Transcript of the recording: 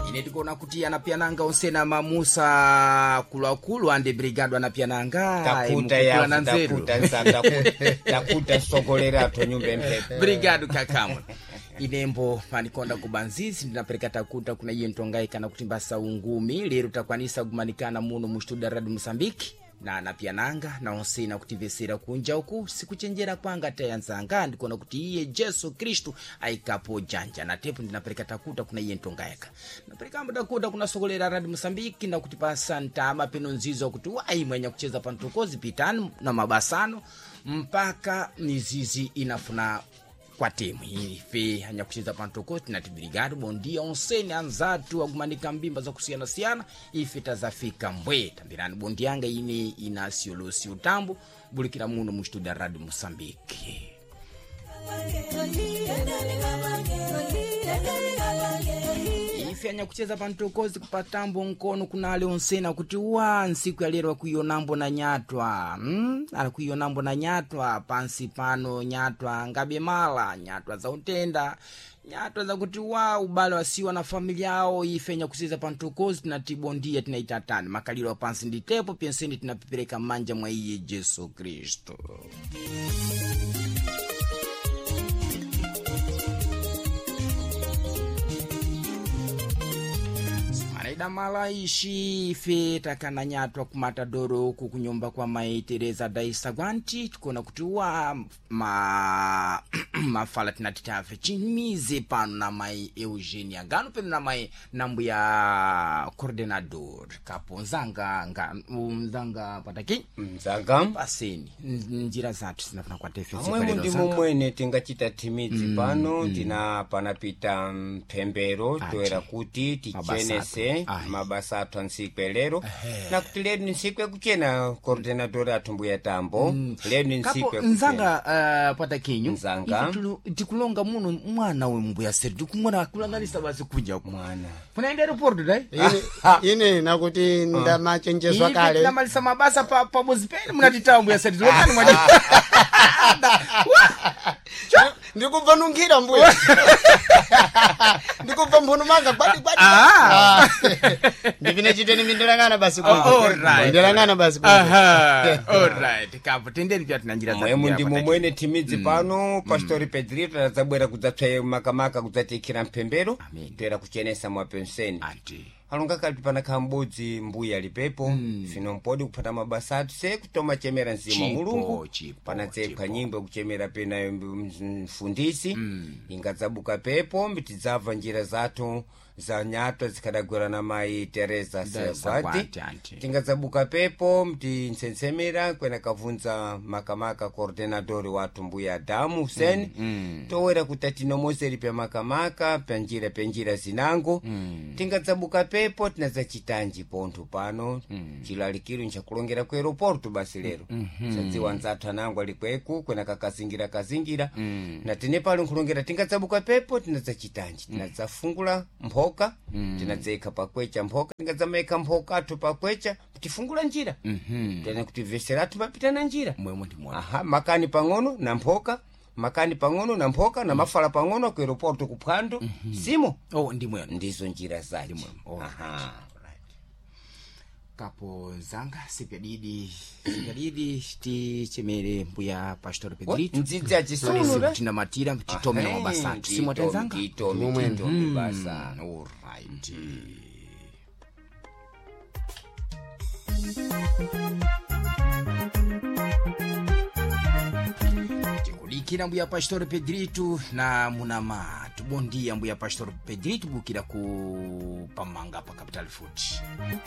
Ine tikuona kuti anapiananga onse na mamusa akuluakulu ande brigado anapiananga Takuta imukukula yavu na nzeru. takuta nsa takuta sogolera athu nyumba emphepo. Brigado kakamwe. Inembo panikonda kubanzizi ndinapereka takuta kuna iye ntongai kana kuti mbasa ungumi lero takwanisa kumanikana muno mu studio Radio Mozambique na anapiananga na onse na kutivesera kunja uku sikuchenjera kwanga tayanzanga ndikuona kuti iye Jesu Kristu aikapo janja na tepo ndinapereka takuta kuna iye ntongayaka naperekambo takuta kuna sokolera Radio Mozambique na kuti pasa ntama peno nzizo kuti wayi mwenya kucheza pantokozi pitani na mabasano mpaka mizizi inafuna kwa temu ife anyakucheza pantoko tinati brigado bondia onseni anzatu akumanika mbimba zakusiyanasiyana ife tazafika mbwe tambirani bondianga ine Inácio Lúcio Tambo bulikira muno mu studio Radio Moçambique. Ife anyakucheza pantokozi kupatambo nkono kunale onsena kuti wa nsiku ya lero akuionambo na nyatwa akuionambo na nyatwa pansi pano nyatwa ngabe mala nyatwa za utenda nyatwa zakuti wa ubale wasiwa na familia yao. Ife anyakucheza pantokozi tinatibondia tinaitatani makaliro pansi nditepo penseni tinapepereka manja mwa iye Jesu Kristo. Manaida ishi ife takana nyatwa kumatadoro uku kunyumba kwa mai Teresa Daisa Gwanti tikuona kuti wa ma mafala tinati tafe chimize pano na mai Eugenia Gano peno na mai nambuya coordenador kapo nzanga nga nzanga pataki Mzanga paseni njira zathu zinafuna kwa tefe amwemo ndimo mwene tingachita thimidzi pano tina panapita mphembero toera kuti tichenese Ayi. mabasa athu ansikwe lero na kuti lero ni nsiku yakuchena coordenador athu mbuya Tambo lero ni nsiku kapo yakuchena. nzanga patakinyu Nzanga. ife tikulonga muno mwana we mbuya seri tikumona akulanganisa basi kuja ku mwana kunaenda aeroporto dai Ine nakuti ndamachenjezwa Ife kale. tinamalisa mabasa pa pabozi pene munatitawa mbuya seri tilokani mwaji Ndikubva nunkhira mbuya. Ndikubva mphuno manga gwadi gwadi. Ah. Ndipine chiteni mindolangana basi Oh, alright. Ndolangana basi kunja. Aha, alright kapo tendeni pya tina njira mwemo mbuya ndimo Pataki. mwene thimidzi pano pastori Pedrito tadzabwera kudzatsvaye makamaka kudzatiikhira mphembero Amen. toera kuchenesa mwapenseni Anti. alonga kali panakhala m'bodzi mbuya alipepo fino mpodi kuphata mabasa athu se kutoma chemera mzimu wa Chipo, Mulungu chipo, panadzepha chipo. nyimbo yakuchemera pena mfundisi ingadzabuka pepo tidzabva njira zathu za nyatwa zikhadagwera na mayi Teresa Sagwati, Sagwati anti. tingadzabuka pepo mtinsensemera kwena kavunza makamaka coordenador wathu mbuya Adamu Hussein towera kuti atinomoseri pya makamaka pya njira pya njira zinango tingadzabuka pepo tinadzachitanji pontho pano chilalikiro nchakulongera ku aeroporto basi lero sadziwa nzathu anango ali kweku kwena kakazingira kazingira na tine pali nkhulongera tingadzabuka pepo tinadzachitanji tinadzafungula mphoka tinadzayikha pakwecha mphoka tingadzamayikha mphoka athu pakwecha tifungula njira tena kuti vesera athu mapita na njira Mwemo ndimona. aha makani pang'ono na mphoka makani pang'ono na mphoka na mafala pang'ono ku aeroporto kuphwando simo Oh, ndimweno. ndizo njira zace Oh, aha kapo nzanga sipyadidi sipyadidi tichemere mbuya pastor Pedrito ndzidzi achisunura tinamatira titome na mabasa athu simwatenzanga titomi titomi basa alright. Tikudikira mbuya pastor Pedrito na munamatu bondia mbuya pastor Pedrito bukira ku pamanga pa Capital Food.